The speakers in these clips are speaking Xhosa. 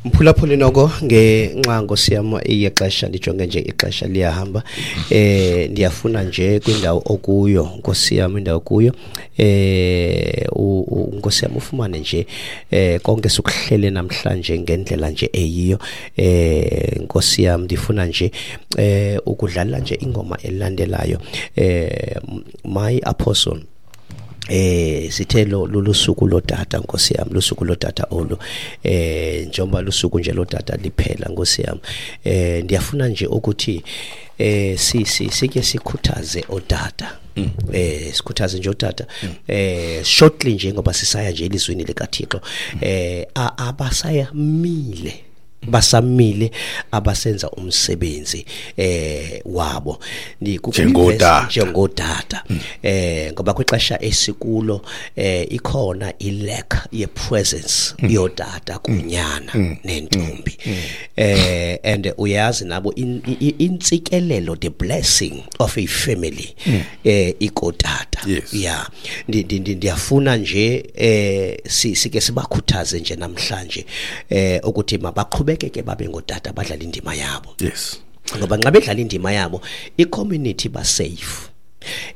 Mphulaphuli, noko ngenxa, Nkosi yam, iyexesha, ndijonge nje ixesha liyahamba. Ndiyafuna nje kwindawo okuyo, Nkosi yam, indawo kuyo, Nkosi yam, ufumane nje konke sikuhlele namhlanje ngendlela nje eyiyo. Nkosi yam, ndifuna nje ukudlala nje ingoma elandelayo. My apostle, sithe lo lusuku lotata, Nkosi yami, lusuku lotata olu. Njengoba lusuku nje lotata liphela, Nkosi yami, ndiyafuna nje ukuthi si si sike sikhuthaze otata. Sikhuthaze nje otata shortly nje, ngoba sisaya nje elizwini likaThixo. Abasayamile, basamile abasenza umsebenzi wabo. Njengotata. Njengotata, ngoba kwixesha esikulo ikhona i-lack ye-presence yotata kunyana nentombi. And uyazi nabo intsikelelo, the blessing of a family, ikotata. Yeah, ndiyafuna nje sike sibakhuthaze nje namhlanje ukuthi mabaqhubekeke babe ngotata, badlala indima yabo. Ngoba nxa bedlala indima yabo, i-community ba safe.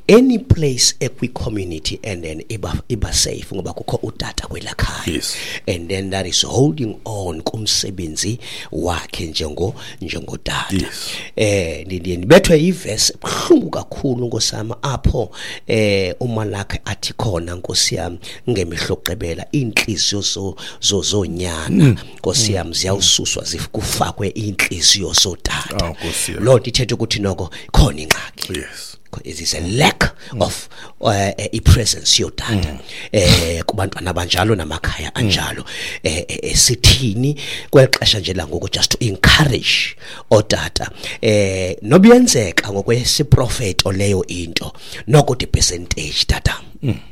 Any place ekwi-community and then iba safe ngoba kukho utata kwelakhaya. And then that is holding on kumsebenzi wakhe njengotata. Ndiye ndibethwe ivesi ebuhlungu kakhulu, nkosami, apho uMalakhi athi khona, Nkosi yami, ngemihla yokuqebela iinhliziyo zonyana, Nkosi yami, ziyawususwa, kufakwe iinhliziyo zotata. Oh, Nkosi yami. Loo nto ithetha ukuthi noko khona ingxaki. It is a lack of i-presence yotata kubantwana abanjalo namakhaya anjalo. Sithini kweli xesha nje langoku just to encourage otata? Nobuyenzeka ngokwesiprofeto leyo into, noko the percentage, tata,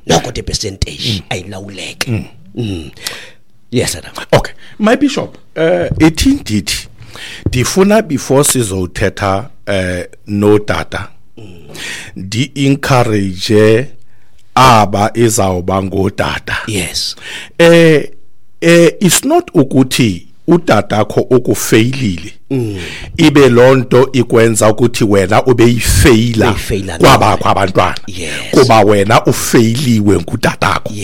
noko the percentage ayilawuleke. Yes, tata. Okay, my bishop, ithi ndithi ndifuna before sizothetha notata, ndi encourage aba izawuba ngotata. It's not ukuthi utatakho ukufeyilile ibe lonto ikwenza ukuthi wena ube yifeyila Uyifeyila kwabakho abantwana kuba wena ufeyiliwe ngutatakho.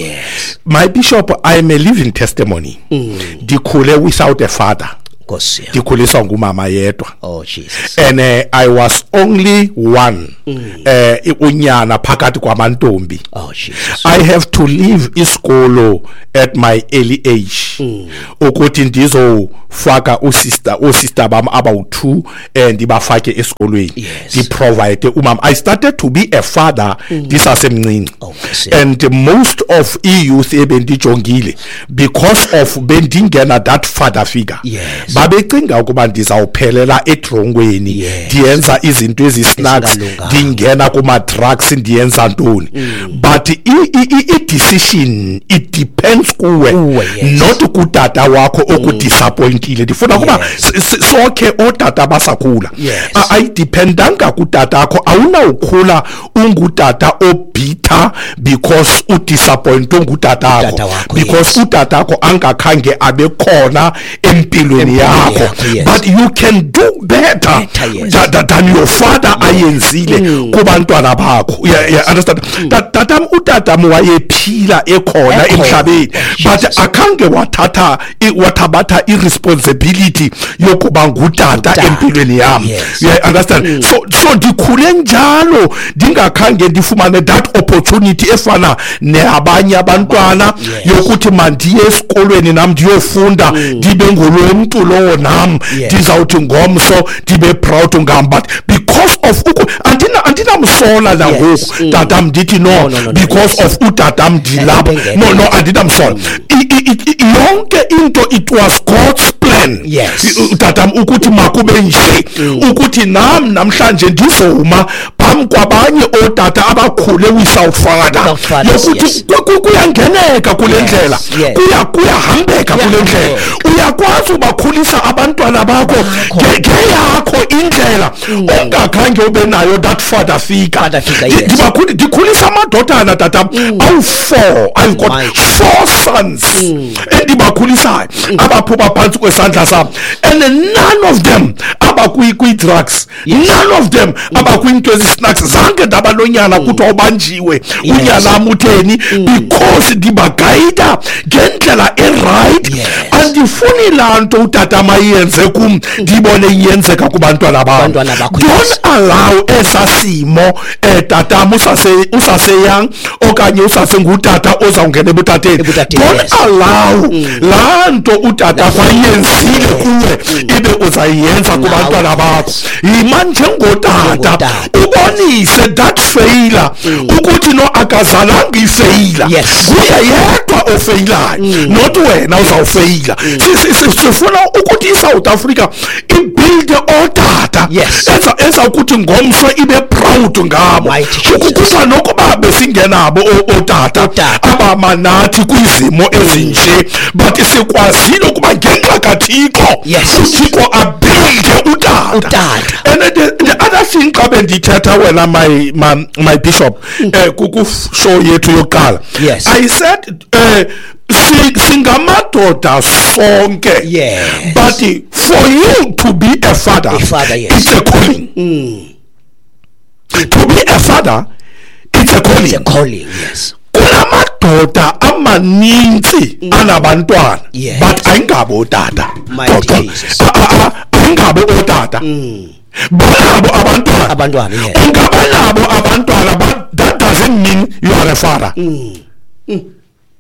My bishop, I am a living testimony. Ndikhule without a father. Nkosi yami. Ndikhuliswa ngumama yedwa. Oh Jesus. And I was only one unyana phakathi kwamantombi. Oh Jesus. I have to leave isikolo at my early age ukuthi ndizofaka usister bam abawu2, ndibafake esikolweni, ndiprovide umama. I started to be a father ndisasemncinci. Oh, Nkosi yami. And most of i-youth ebendijongile, because of bendingena that father figure, babecinga ukuba ndizawuphelela etrongweni, ndiyenza izinto ezi-snacks, Ezingalunganga. ndingena kuma-drugs, ndiyenza ntoni. But i-decision, it depends kuwe, Kuwe, yes. not kutata wakho okudisappointile. Ndifuna ukuba sonke ootata basakhula, ayidependanga kutatakho. Awunawukhula ungutata obitter because udisappointwe ngutatakho, Utata wakho, because utatakho angakhange abe khona empilweni Empilweni yakho. yakho, yes. But you can do better, Better, yes. than your father ayenzile kubantwana bakho. Yeah, understand? Tatam, utatam wayephila ekhona Ekhona. emhlabeni, Oh, but Jesus. akhange wathabatha irresponsibility yokuba ngutata Ngutata. empilweni yam. Yeah, understand? So ndikhule njalo ndingakhange ndifumane that opportunity efana neabanye abantwana yokuthi mandiye esikolweni nam ndiyofunda, ndibe ngulo mntu lowo nam ndizawuthi ngomso ndibe proud ngam. But because of andinamsola nangoku tatam, ndithi no, No, no, no, no, because of utatam ndilapha. Ebengekho. No, andinamsola. Yonke into, it was God's plan. Tatam, ukuthi makube nje, ukuthi nam namhlanje ndizoma phambi kwabanye ootata abakhule without father, Without fathers, yokuthi yes. kuyangeneka kule ndlela, kuyahambeka kule kule ndlela. Uyakwazi ubakhulisa abantwana bakho ngeyakho indlela ongakhange ube nayo that father figure. Ndikhulisa amadodana tata awu-4. I've got 4 sons endibakhulisayo abaphuma phantsi kwesandla sam, and none of them abakwi-drugs, none of them abakwinto ezi-snacks. Zange ndaba nonyana kuthiwa ubanjiwe unyana utheni, because ndibagayida ngendlela e-right. Andifuni laa nto utata mayenze kum ndibone iyenzeka kubantwana bam. Don't allow esa simo tatam usaseyang okanye usasengutata ozawungena ebutateni. Don't allow laa nto utata kwayenzile kuwe ibe uzayenza kubantwana bakho. Yima njengotata ubonise that failure ukuthi no akazalanga ifeyila, kuye yedwa ofeyilayo, not wena uzawufeyila. Sifuna ukuthi iSouth Africa ibuilde ootata enza ukuthi ngomso ibe proud ngabo, ukukuba nokuba besingenabo ootata abamanathi kwizimo ezinje, but sikwazile ukuba ngenxa kaThixo uThixo abuilde utata. And the other thing xa bendithetha wena my bishop ku-show yethu yokuqala, I said singamadoda sonke, but for you to be a father, it's a calling. To be a father, it's a calling. It's a calling, yes. Kunamadoda amaninzi anabantwana, but ayingabo otata. Ayingabo otata. Banabo abantwana. Abantwana, yes. Ungabanabo abantwana, but that doesn't mean you are a father.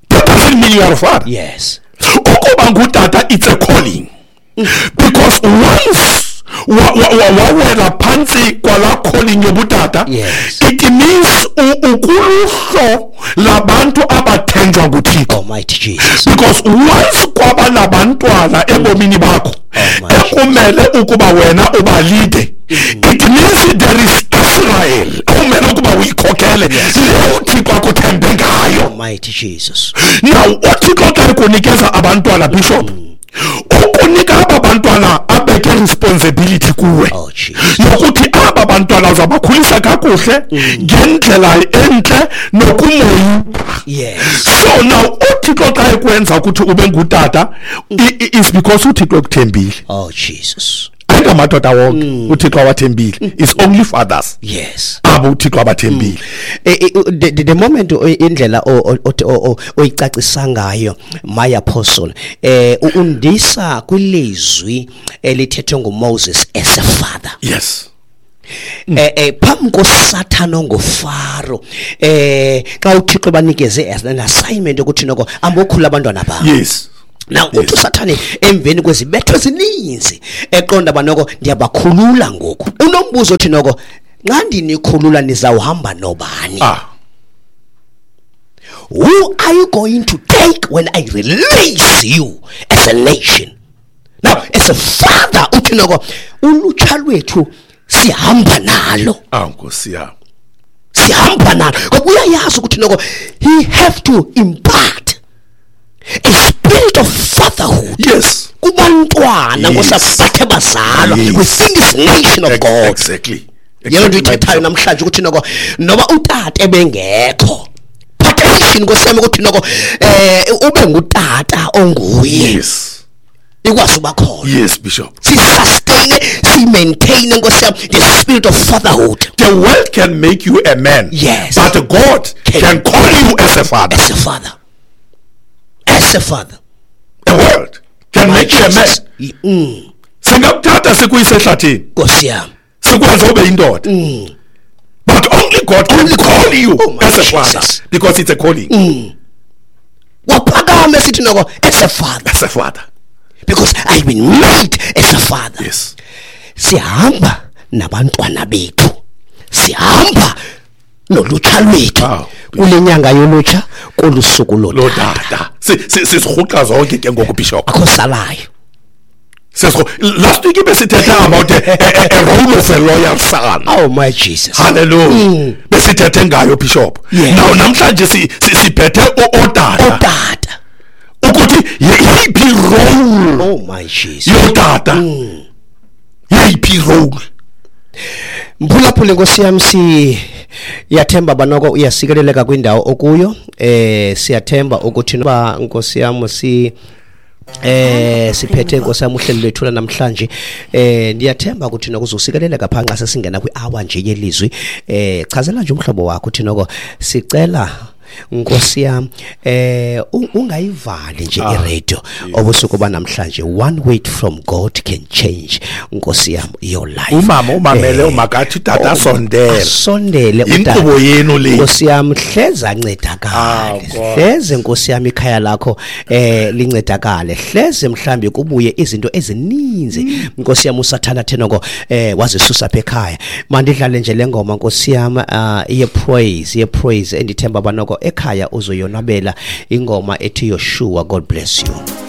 That doesn't mean you are a father. Yes. Ukuba ngutata, it's a calling. Because once wawela phantsi kwala calling yobutata, it means ukuluhlo labantu abathenjwa nguThixo. Almighty Jesus. Because once kwaba nabantwana ebomini bakho ekumele ukuba wena ubalide, it means there is Israel okumele ukuba uyikhokele le uThixo akuthembe ngayo. Almighty Jesus. Now uThixo xa ekunikeza abantwana, Bishop, ukunika aba bantwana abeke responsibility kuwe yokuthi aba bantwana uzabakhulisa kakuhle ngendlela entle nokumoyika. So now uThixo xa ekwenza ukuthi ube ngutata is because uThixo ekuthembile. Oh Jesus. Ayingamadoda wonke uThixo awathembile, it's only fathers. Yes. Abo uThixo abathembile. The moment indlela oyicacisa ngayo my apostle, undisa kwilizwi elithethwe nguMoses as a father. Yes. Phambi koSathana onguFaro, xa uThixo banikeze as an assignment ukuthi noko ambokhula abantwana babo. Yes. Now uthi uSathane emveni kwezibetho ezininzi eqonda banoko ndiyabakhulula ngoku. Unombuzo othi noko nxa ndinikhulula nizawuhamba nobani? Who are you going to take when I release you as a nation? Now as a father uthi noko ulutsha lwethu sihamba nalo. Nkosi yami. Sihamba nalo. Ngoba uyayazi ukuthi noko he have to impart a spirit of fatherhood. Yes. Kubantwana ngosaphathe bazalwa within this nation of God. Exactly. Yelo nto ithethayo namhlanje ukuthi noko noba utata ebengekho, protection nkosiyami ukuthi noko ube ngutata onguye. Yes. Ikwazi uba khona. Yes, Bishop. Si sustain, si maintain nkosiyami the spirit of fatherhood. The world can make you a man. Yes. But God can call you as a father. As a father. As a father. The world can make you a man. Singakuthatha sikuyise ehlathini. Nkosi yami. Sikwenze ube indoda. But only God can call you as a father, because it's a calling. Waphakama esithi noko as a father. As a father. Because I've been made as a father. Yes. Sihamba nabantwana bethu. Sihamba nolutsha lwethu. Kule nyanga yolutsha kolusuku lotata. Sisirhuqa zonke ke ngoku, Bishop. Akho salayo. Last week besithethe about a role of a loyal son. Oh my Jesus. Hallelujah. Besithethe ngayo, Bishop. Now namhlanje siphethe otata. Otata. Ukuthi yiphi My Jesus. Yotata yeyiphi role? Mphulaphuli, nkosi yam, siyathemba banoko uyasikeleleka kwindawo okuyo. Siyathemba ukuthi noba, nkosi yam, si siphethe, nkosi yam, uhlelo lwethu namhlanje. Ndiyathemba ukuthi noko uzosikeleleka phaa xa sesingena kwi-hour nje yelizwi. Chazela nje umhlobo wakho uthi noko sicela, nkosi yam, ungayivali nje iradio obusuku banamhlanje. One word from God can change, nkosi yam, your life. Umama umamele, umakathi tata sondela. Asondele. Inkqubo yenu le. Nkosi yam, hleze ancedakale. Ah, God. Hleze, nkosi yam, ikhaya lakho lincedakale, hleze mhlambi kubuye izinto ezininzi, nkosi yam, usathana thenoko wazisusa apha ekhaya. Mandidlale nje le ngoma, nkosi yam, ye praise, ye praise endithemba banoko ekhaya uzoyonwabela, ingoma ethi Yoshua. God bless you.